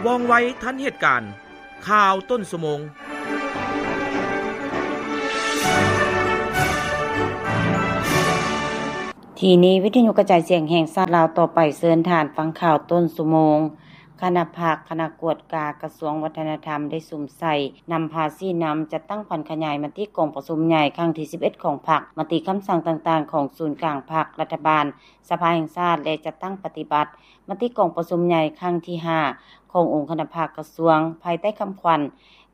ວ່ອງໄວທັນເຫດການ. ຂ່າວຕົ້ນຊົ່ວໂມງ. ທີ່ນີ້ວິທະຍຸກະຈາຍສຽງແຫ່ງຊາດລາວ. ຕໍ່ໄປເຊີນທ່ານຟັງຂ່າວຕົ້ນຊົ່ວໂມງ. ຄະນະພັກ ຄະນະກວດກາກະຊວງວັດທະນະທຳ ໄດ້ສຸມໃສ່ນຳພາຊີ້ນຳ ຈັດຕັ້ງຜັນຂະຫຍາຍມະຕິກອງປະຊຸມໃຫຍ່ຄັ້ງທີສິບເອັດຂອງພັກ, ມະຕິຄຳສັ່ງຕ່າງໆຂອງສູນກາງພັກ, ລັດຖະບານ, ສະພາແຫ່ງຊາດ ແລະ ຈັດຕັ້ງປະຕິບັດມະຕິກອງປະຊຸມໃຫຍ່ຄັ້ງທີຫ້າຂອງອົງຄະນະພັກກະຊວງ ພາຍໃຕ້ຄຳຂວັນ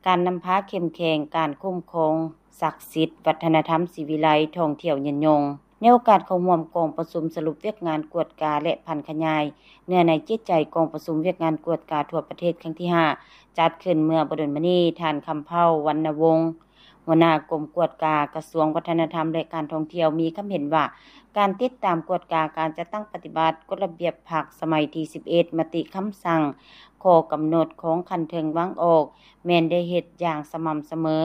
ການນຳພາເຂັ້ມແຂງ, ການຄຸ້ມຄອງສັກສິດ, ວັດທະນະທຳສີວິໄລ, ທ່ອງທ່ຽວຍືນຍົງ. ໃນໂອກາດເຂົ້າຮ່ວມກອງປະຊຸມສະຫຼຸບວຽກງານກວດກາ ແລະ ຜັນຂະຫຍາຍເນື້ອໃນຈິດໃຈກອງປະຊຸມວຽກງານກວດກາທົ່ວປະເທດຄັ້ງທີຫ້າ ຈັດຂຶ້ນເມື່ອບໍ່ດົນມານີ້, ທ່ານ ຄຳເພົາ ວັນນະວົງ ຫົວໜ້າກົມກວດກາກະຊວງວັດທະນະທຳ ແລະ ການທ່ອງທ່ຽວ ມີຄຳເຫັນວ່າ ການຕິດຕາມກວດກາການຈັດຕັ້ງປະຕິບັດກົດລະບຽບພັກສະໄໝທີສິບເອັດ, ມະຕິຄຳສັ່ງ, ຂໍ້ກຳນົດຂອງຂັ້ນເທິງວາງອອກ ແມ່ນໄດ້ເຮັດຢ່າງສະໝ່ຳສະເໝີ.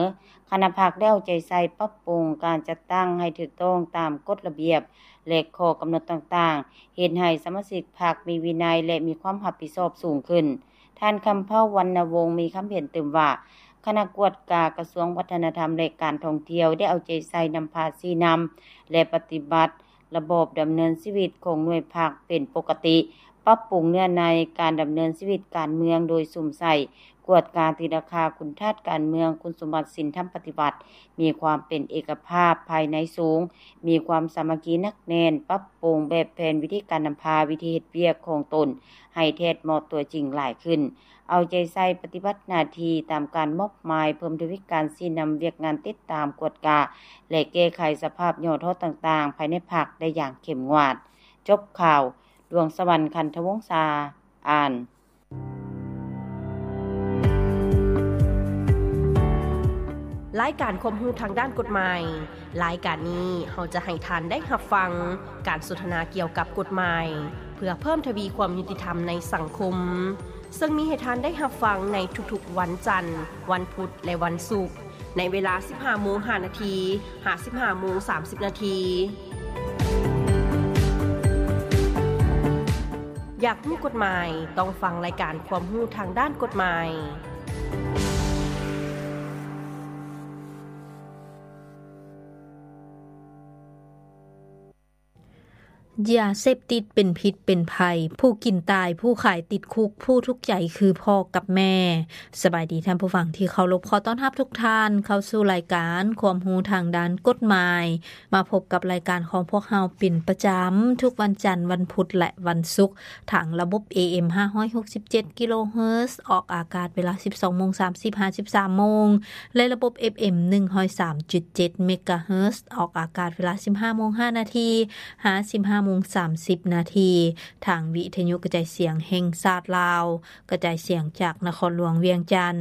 ຄະນະພັກໄດ້ເອົາໃຈໃສ່ປັບປຸງການຈັດຕັ້ງໃຫ້ຖືກຕ້ອງຕາມກົດລະບຽບ ແລະ ຂໍ້ກຳນົດຕ່າງໆ, ເຮັດໃຫ້ສະມາຊິກພັກມີວິໄນ ແລະ ມີຄວາມຮັບຜິດຊອບສູງຂຶ້ນ. ທ່ານ ຄຳເພົາ ວັນນະວົງ ມີຄຳເຫັນຕື່ມວ່າ ຄະນະກວດກາກະຊວງວັດທະນະທຳ ແລະ ການທ່ອງທ່ຽວ ໄດ້ເອົາໃຈໃສ່ນຳພາຊີ້ນຳ ແລະ ປະຕິບັດລະບອບດຳເນີນຊີວິດຂອງໜ່ວຍພັກເປັນປົກກະຕິ, ປັບປຸງເນື້ອໃນການດຳເນີນຊີວິດການເມືອງ ໂດຍສຸມໃສ່ກວດກາຕີລາຄາຄຸນທາດການເມືອງ, ຄຸນສົມບັດສິນທຳປະຕິວັດ, ມີຄວາມເປັນເອກະພາບພາຍໃນສູງ, ມີຄວາມສາມັກຄີໜັກແໜ້ນ, ປັບປຸງແບບແຜນວິທີການນຳພາ, ວິທີເຮັດວຽກຂອງຕົນໃຫ້ແທດເໝາະຕົວຈິງຫຼາຍຂຶ້ນ, ເອົາໃຈໃສ່ປະຕິບັດໜ້າທີ່ຕາມການມອບໝາຍ, ເພີ່ມທະວີການຊີ້ນຳວຽກງານຕິດຕາມ, ກວດກາ ແລະ ແກ້ໄຂສະພາບຫຍໍ້ທໍ້ຕ່າງໆ ພາຍໃນພັກໄດ້ຢ່າງເຂັ້ມງວດ. ຈົບຂ່າວ. ດວງສະຫວັນ ຄັນທະວົງສາ ອ່ານ. ລາຍການຄວາມຮູ້ທາງດ້ານກົດໝາຍ. ລາຍການນີ້ເຮົາຈະໃຫ້ທ່ານໄດ້ຮັບຟັງການສົນທະນາກ່ຽວກັບກົດໝາຍ ເພື່ອເພີ່ມທະວີຄວາມຍຸຕິທຳໃນສັງຄົມ, ເຊິ່ງມີໃຫ້ທ່ານໄດ້ຮັບຟັງໃນທຸກໆວັນຈັນ, ວັນພຸດ ແລະ ວັນສຸກ ໃນເວລາສິບຫ້າໂມງຫ້ານາທີ ຫາ ສິບຫ້າໂມງສາມສິບນາທີ. ຢາກຮູ້ກົດໝາຍ? ຕ້ອງຟັງລາຍການຄວາມຮູ້ທາງດ້ານກົດໝາຍ. ຢາເສບຕິດເປັນພິດເປັນໄພ, ຜູ້ກິນຕາຍ, ຜູ້ຂາຍຕິດຄຸກ, ຜູ້ທຸກໃຈຄືພໍ່ກັບແມ່. ສະບາຍດີທ່ານຜູ້ຟັງທີ່ເຄົາລົບ, ຂໍຕ້ອນຮັບທຸກທ່ານເຂົ້າສູ່ລາຍການຄວາມຮູ້ທາງດ້ານກົດໝາຍ. ມາພົບກັບລາຍການຂອງພວກເຮົາເປັນປະຈຳທຸກວັນຈັນ, ວັນພຸດ ແລະ ວັນສຸກ ທາງລະບົບ ເອເອັມ ຫ້າຮ້ອຍຫົກສິບເຈັດກິໂລເຮີດ ອອກອາກາດເວລາສິບສອງໂມງສາມສິບ ຫາ ສິບສາມໂມງ ແລະ ລະບົບ ເອຟເອັມ ໜຶ່ງຮ້ອຍສາມຈຸດເຈັດເມກາເຮີດ ອອກອາກາດເວລາສິບຫ້າໂມງຫ້ານາທີ ຫາ ສິບຫ້າໂມງສາມສິບນາທີ ທາງວິທະຍຸກະຈາຍສຽງແຫ່ງຊາດລາວ ກະຈາຍສຽງຈາກນະຄອນຫຼວງວຽງຈັນ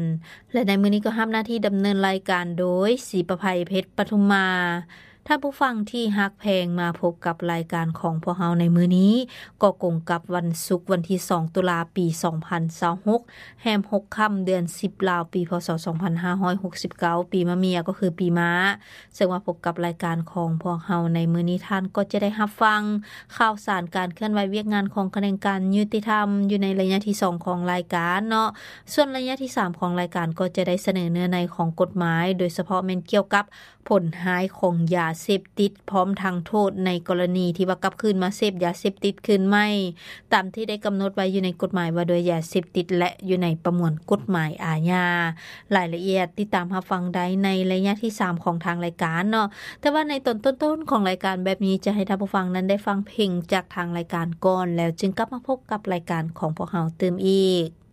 ແລະ ໃນມື້ນີ້ກໍຮັບໜ້າທີ່ດຳເນີນລາຍການໂດຍ ສີປະໄພ ເພັດປະທຸມມາ. ທ່ານຜູ້ຟັງທີ່ຮັກແພງ, ມາພົບກັບລາຍການຂອງພວກເຮົາໃນມື້ນີ້ ກໍກົງກັບວັນສຸກ ວັນທີສອງ ຕຸລາ ປີສອງພັນຊາວຫົກ ແຮມຫົກຄ່ຳ ເດືອນສິບ ລາວ ປີ ພ.ສ. ສອງພັນຫ້າຮ້ອຍຫົກສິບເກົ້າ ປີມະເມຍ ກໍຄືປີມ້າ. ເຊິ່ງມາພົບກັບລາຍການຂອງພວກເຮົາໃນມື້ນີ້, ທ່ານກໍຈະໄດ້ຮັບຟັງຂ່າວສານການເຄື່ອນໄຫວວຽກງານຂອງຂະແໜງການຍຸຕິທຳ ຢູ່ໃນໄລຍະທີສອງຂອງລາຍການເນາະ. ສ່ວນໄລຍະທີສາມຂອງລາຍການ ກໍຈະໄດ້ສະເໜີເນື້ອໃນຂອງກົດໝາຍ, ໂດຍສະເພາະແມ່ນກ່ຽວກັບ ຜົນຮ້າຍຂອງຢາເສບຕິດ ພ້ອມທັງໂທດໃນກໍລະນີທີ່ວ່າກັບຄືນມາເສບຢາເສບຕິດຄືນໃໝ່ ຕາມທີ່ໄດ້ກຳນົດໄວ້ຢູ່ໃນກົດໝາຍວ່າດ້ວຍຢາເສບຕິດ ແລະ ຢູ່ໃນປະມວນກົດໝາຍອາຍາ. ລາຍລະອຽດຕິດຕາມຮັບຟັງໄດ້ໃນໄລຍະທີສາມຂອງທາງລາຍການເນາະ. ແຕ່ວ່າໃນຕອນຕົ້ນໆຂອງລາຍການແບບນີ້ ຈະໃຫ້ທ່ານຜູ້ຟັງນັ້ນໄດ້ຟັງເພງຈາກທາງລາຍການກ່ອນ, ແລ້ວຈຶ່ງກັບມາພົບກັບລາຍການຂອງພວກເຮົາຕື່ມອີກ.